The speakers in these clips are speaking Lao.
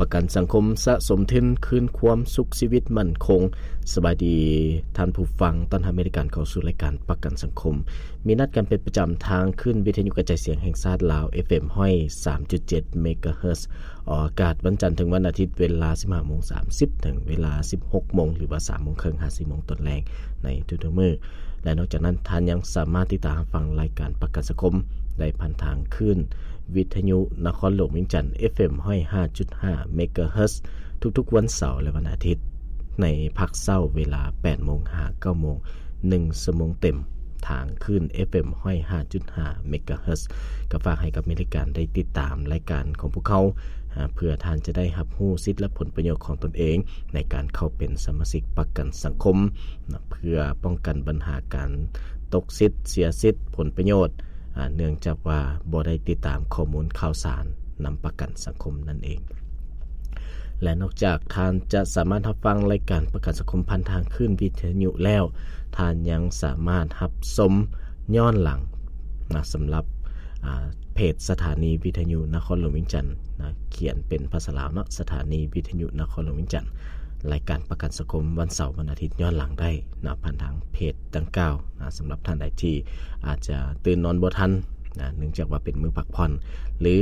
ປະກັນສັງຄົມ ສະສົມທຶນຄືນຄວາມສຸກຊີວິດໝັ້ນຄົງ. ສະບາຍດີທ່ານຜູ້ຟັງ, ຕ້ອນຮັບໃຫ້ທ່ານເຂົ້າສູ່ລາຍການປະກັນສັງຄົມ. ມີນັດກັນເປັນປະຈຳທາງຄື້ນວິທະຍຸກະຈາຍສຽງແຫ່ງຊາດລາວ ເອັຟເອັມ ຮ້ອຍສາມຈຸດເຈັດ ເມກາເຮີດ ອອກອາກາດວັນຈັນເຖິງວັນອາທິດ ເວລາ ສິບຫ້າໂມງສາມສິບ ເຖິງເວລາ ສິບຫົກໂມງ ຫຼືວ່າ ສາມໂມງເຄິ່ງ ຫາ ສີ່ໂມງຕອນແລງ ໃນທຸກໆມື້. ແລະ ນອກຈາກນັ້ນ, ທ່ານຍັງສາມາດຕິດຕາມຮັບຟັງລາຍການປະກັນສັງຄົມໄດ້ຜ່ານທາງຄື້ນວິທະຍຸນະຄອນຫຼວງວຽງຈັນ ເອັຟເອັມ ຮ້ອຍຫ້າຈຸດຫ້າ ເມກາເຮີດ ທຸກໆວັນເສົາ ແລະ ວັນອາທິດ ໃນພາກເຊົ້າເວລາ ແປດໂມງ ຫາ ເກົ້າໂມງ ໜຶ່ງຊົ່ວໂມງເຕັມ ທາງຄື້ນ ເອັຟເອັມ ຮ້ອຍຫ້າຈຸດຫ້າ ເມກາເຮີດ. ກໍຝາກໃຫ້ກັບແມ່ນລາຍການໄດ້ຕິດຕາມລາຍການຂອງພວກເຮົາ ອາ ເພື່ອທ່ານຈະໄດ້ຮັບຮູ້ສິດ ແລະ ຜົນປະໂຫຍດຂອງຕົນເອງ ໃນການເຂົ້າເປັນສະມາຊິກປະກັນສັງຄົມ ນະ ເພື່ອປ້ອງກັນບັນຫາການຕົກສິດ, ເສຍສິດ, ຜົນປະໂຫຍດ ອາ ເນື່ອງຈາກວ່າບໍ່ໄດ້ຕິດຕາມຂໍ້ມູນຂ່າວສານນຳປະກັນສັງຄົມນັ້ນເອງ. ແລະ ນອກຈາກທ່ານຈະສາມາດຮັບຟັງລາຍການປະກັນສັງຄົມຜ່ານທາງຄື້ນວິທະຍຸແລ້ວ, ທ່ານຍັງສາມາດຮັບຊົມຍ້ອນຫຼັງນະ ສຳລັບ ອາ ເພຈສະຖານີວິທະຍຸນະຄອນຫຼວງວຽງຈັນນະ, ຂຽນເປັນພາສາລາວເນາະ, ສະຖານີວິທະຍຸນະຄອນຫຼວງວຽງຈັນ. ລາຍການປະກັນສັງຄົມວັນເສົາ, ວັນອາທິດຍ້ອນຫຼັງໄດ້ນະ ຜ່ານທາງເພຈດັ່ງກ່າວນະ. ສຳລັບທ່ານໃດທີ່ອາດຈະຕື່ນນອນບໍ່ທັນນະ ເນື່ອງຈາກວ່າເປັນມື້ພັກຜ່ອນ ຫຼື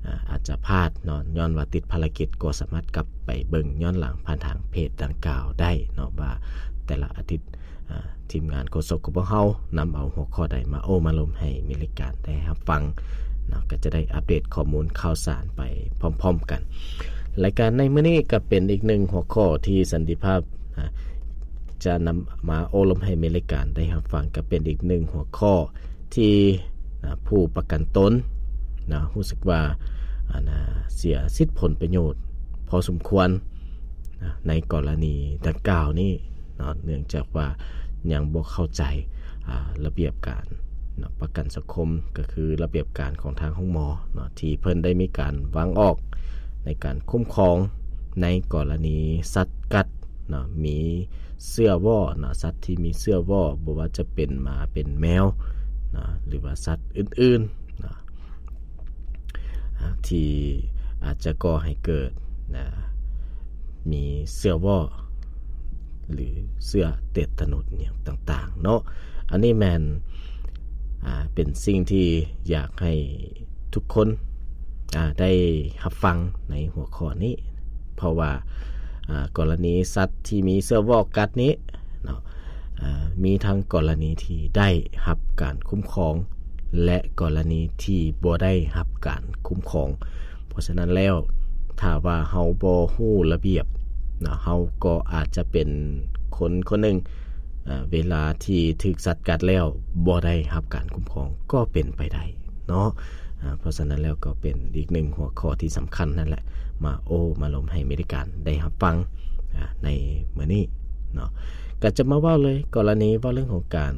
ອາ ອາດຈະພາດເນາະ ຍ້ອນວ່າຕິດພາລະກິດ, ກໍສາມາດກັບໄປເບິ່ງຍ້ອນຫຼັງຜ່ານທາງເພຈດັ່ງກ່າວໄດ້ເນາະ ວ່າແຕ່ລະອາທິດ ອາ ທີມງານໂຄສົກຂອງພວກເຮົານຳເອົາຫົວຂໍ້ໃດມາໂອ້ມາລົມໃຫ້ແມ່ນລາຍການໄດ້ຮັບຟັງເນາະ, ກໍຈະໄດ້ອັບເດດຂໍ້ມູນຂ່າວສານໄປພ້ອມໆກັນ. ລາຍການໃນມື້ນີ້ກໍເປັນອີກໜຶ່ງຫົວຂໍ້ທີ່ສັນຕິພາບ ອາ ຈະນຳມາໂອ້ລົມໃຫ້ແມ່ນລາຍການໄດ້ຮັບຟັງ, ກໍເປັນອີກໜຶ່ງຫົວຂໍ້ທີ່ ອາ ຜູ້ປະກັນຕົນນະ ຮູ້ສຶກວ່າ ອັນນະ ເສຍສິດຜົນປະໂຫຍດພໍສົມຄວນນະ ໃນກໍລະນີດັ່ງກ່າວນີ້ເນາະ, ເນື່ອງຈາກວ່າຍັງບໍ່ເຂົ້າໃຈ ອາ ລະບຽບການເນາະ ປະກັນສັງຄົມ, ກໍຄືລະບຽບການຂອງທາງໂຮງໝໍເນາະ ທີ່ເພິ່ນໄດ້ມີການວາງອອກໃນການຄຸ້ມຄອງໃນກໍລະນີສັດກັດເນາະ, ມີເຊື້ອວໍ້ເນາະ, ສັດທີ່ມີເຊື້ອວໍ້ ບໍ່ວ່າຈະເປັນໝາເປັນແມວເນາະ ຫຼືວ່າສັດອື່ນໆເນາະ ອາ ທີ່ອາດຈະກໍ່ໃຫ້ເກີດນະ ມີເຊື້ອວໍ້ ຫຼືເຊື້ອເຕດຕະໜົດຫຍັງຕ່າງໆເນາະ. ອັນນີ້ແມ່ນ ອາ ເປັນສິ່ງທີ່ຢາກໃຫ້ທຸກຄົນ ອາ ໄດ້ຮັບຟັງໃນຫົວຂໍ້ນີ້ ເພາະວ່າ ອາ ກໍລະນີສັດທີ່ມີເຊື້ອວໍ້ກັດນີ້ເນາະ ອາ ມີທັງກໍລະນີທີ່ໄດ້ຮັບການຄຸ້ມຄອງ ແລະ ກໍລະນີທີ່ບໍ່ໄດ້ຮັບການຄຸ້ມຄອງ. ເພາະສະນັ້ນແລ້ວ ຖ້າວ່າເຮົາບໍ່ຮູ້ລະບຽບເນາະ ເຮົາກໍອາດຈະເປັນຄົນຄົນໜຶ່ງ ອາ ເວລາທີ່ຖືກສັດກັດແລ້ວບໍ່ໄດ້ຮັບການຄຸ້ມຄອງກໍເປັນໄປໄດ້ເນາະ. ອາ ເພາະສະນັ້ນແລ້ວກໍເປັນອີກໜຶ່ງຫົວຂໍ້ທີ່ສຳຄັນນັ້ນແຫຼະ ມາໂອ້ມາລົມໃຫ້ແມ່ນລາຍການໄດ້ຮັບຟັງ ອາ ໃນມື້ນີ້ເນາະ. ກໍຈະມາເວົ້າເລີຍ ກໍລະນີເວົ້າເລື່ອງຂອງການ